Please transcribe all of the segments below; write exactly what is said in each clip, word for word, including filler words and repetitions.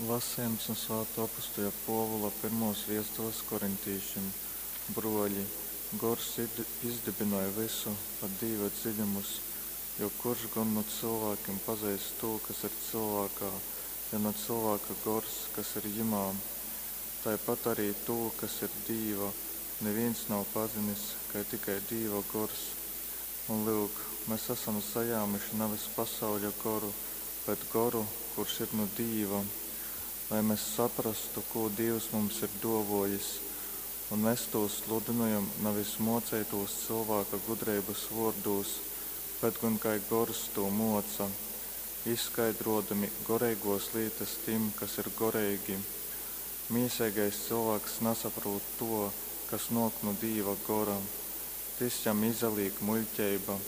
Lasejums nu Svātuo apustuļa Puovula pyrmuos viestules korintīšim. Bruoļi, Gors izdybynoj vysu, pat Dīva dziļumus, jo kurš gon nu cylvākim pazeist tū, kas ir cylvākā, ja na cylvāka gors, kas ir jimā? Taipat ari tū, kas ir Dīva, nivīns nav pazinis, kai tikai Dīva gors. Un lyuk, mes asam sajāmuši nevis pasauļa goru, bet goru, kurš ir nu Dīva, lai mes saprastu, kū Dīvs mums ir duovuojis, un mes tū sludynojam nevis muoceitūs cylvāka gudreibys vuordūs, bet gon kai gors tū muoca, izskaidruodami goreiguos lītys tim, kas ir goreigi. Mīseigais cylvāks nasaprūt tuo, kas nuok nu Dīva gora, tys jam izalīk muļķeiba,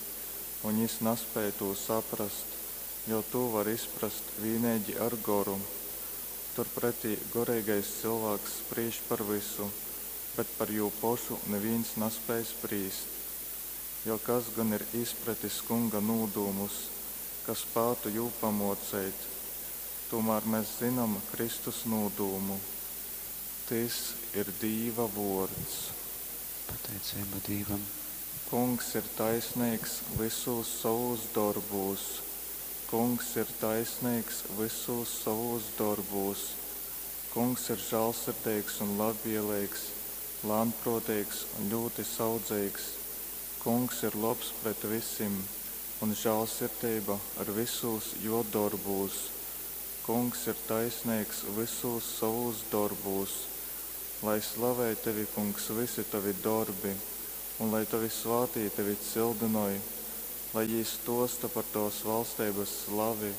un jis naspēj tū saprast, jo tū var izprast vīneigi ar goru. Turpretī goreigais cylvāks sprīž par vysu, bet par jū pošu nivīns naspēj sprīst. Jo kas gon ir izpratis Kunga nūdūmus, kas spātu jū pamuoceit? Tūmār mes zynom Kristus nūdūmu. Tys ir Dīva vuords. Pateiceiba Dīvam. Kungs ir taisneigs vysūs sovūs dorbūs. Kungs ir taisneigs vysūs sovūs dorbūs. Kungs ir žālsirdeigs un labvieleigs, lānpruoteigs un ļūti saudzeigs. Kungs ir lobs pret vysim, un žālsirdeiba ir vysūs juo dorbūs. Kungs ir taisneigs vysūs sovūs dorbūs. Lai slavej tevi, Kungs, vysi tovi dorbi, un lai tovi svātī tevi cyldynoj, lai jī stuosta par tovas valsteibys slavi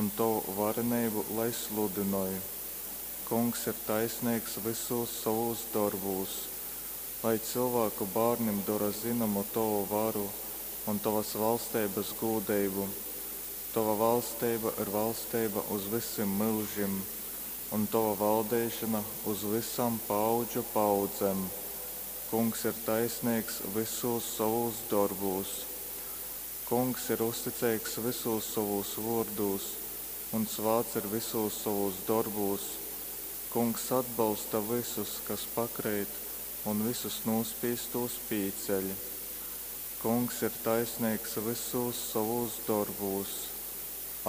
un tovu vareneibu lai sludynoj. Kungs ir taisneigs vysūs sovūs dorbūs, lai cylvāku bārnim dora zynomu tovu varu un tovas valsteibys gūdeibu. Tova valsteiba ir valsteiba uz vysim myužim, un tova valdeišona uz vysām paaudžu paaudzem. Kungs ir taisneigs vysūs sovūs dorbūs. Kungs ir uzticeigs vysūs sovūs vuordūs un svāts ir vysūs sovūs dorbūs. Kungs atbolsta vysus, kas pakreit, un vysus nūspīstūs pīceļ. Kungs ir taisneigs vysūs sovūs dorbūs.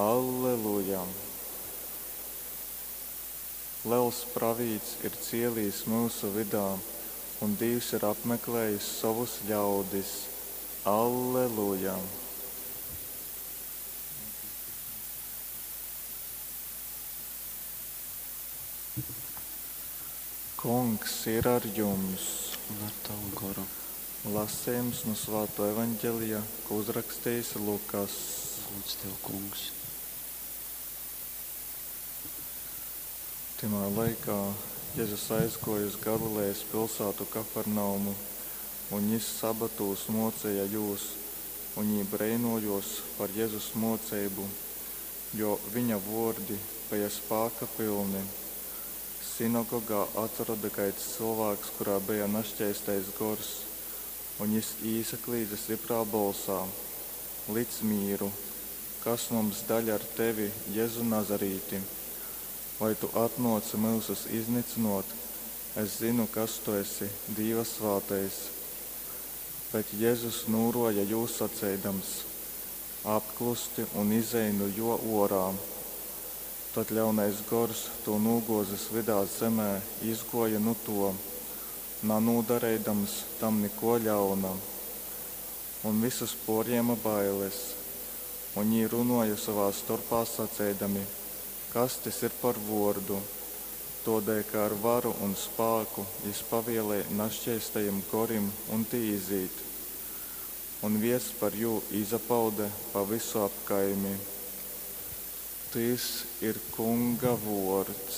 Alleluja! Lels pravīts ir cielīs myusu vydā, un Dīvs ir apmeklējis sovus ļaudis. Alleluja! Kungs ir ar jums! Un ar tavu goru. Lasījums no Svāto evaņģelija, ko uzrakstījis Lukas. Gods tev, Kungs. Tymā laikā Jezus aizguoja uz Galilejas pilsētu Kafarnaumu, un jis sabatūs mocīja jūs, un jī breinojuos par Jezus moceibu, jo viņa vuordi beja spāka pilni. Sinagogā atsaroda kaids cylvāks, kurā beja naškeistais gors, un jis īsaklīdze stiprā bolsā: Lic mīru, kas mums daļa ar tevi, Jezu Nazarīti? Vai tu atnōci myusus iznycynōt? Es zinu, kas tu esi, Dīva svātais. Bet Jezus nūruoja jū saceidams: Apklusti un izej nu juo uorā. Tad ļaunais gors, tū nūguozis vydā zemē, izguoja nu tuo, nanūdareidams tam nikuo ļauna. Un vysus puorjēma bailes, un jī runuoja sovā storpā saceidami: Kas tys ir par vuordu? Tuodēļ, ka ar varu un spāku jis pavielej naškeistajim gorim, un tī izīt. Un viests par jū izapaude pa vysu apkaimi. Tys ir Kunga vuords.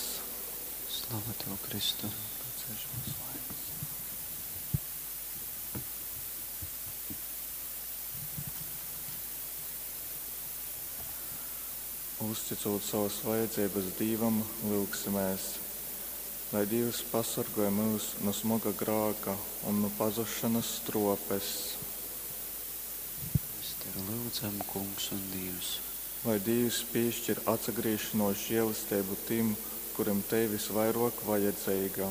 Slava tev, Kristu. Uzticūt savas vajadzības Dīvam, lyugsimēs, lai Dīvs pasorgoj myus nu smoga grāka un nu pazušanas struopes. Mēs tevi lūdzam, Kungs un Dievs. Lai Dīvs pīškir atsagrīzšonōs želesteibu tim, kurim tei vysvairōk vajadzeiga.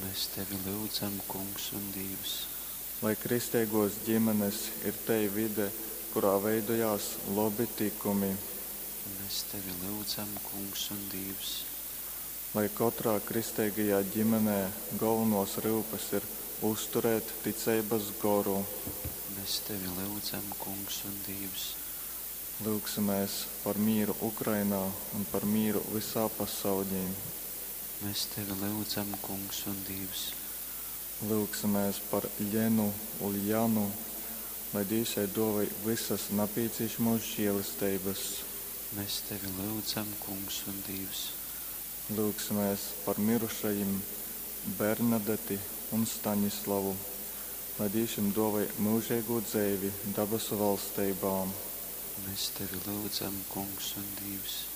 Mēs Tevi lyudzam, Kungs un Dīvs. Lai kristeigōs gimenes ir tei vide, kurā veidojās lobi tykumi. Mēs Tevi lyudzam, Kungs un Dīvs. Lai kotrā kristeigajā gimenē golvonōs ryupes ir uzturēt ticeibas goru. Mēs Tevi lyudzam, Kungs un Dīvs. Lyugsimēs par mīru Ukrainā un par mīru vysā pasauļī. Mēs Tevi lyudzam, Kungs un Dīvs. Lyugsimēs par Ļenu Uljanu, lai Dīvs jai dōvoj vysas napīcīšamōs želesteibas. Mēs Tevi lyudzam, Kungs un Dīvs. Lyugsimēs par mirušajim Bernadeti un Staņislavu, lai Dīvs jim dōvoj myužeigū dzeivi dabasu valsteibā. Mēs Tevi lyudzam, Kungs un Dīvs.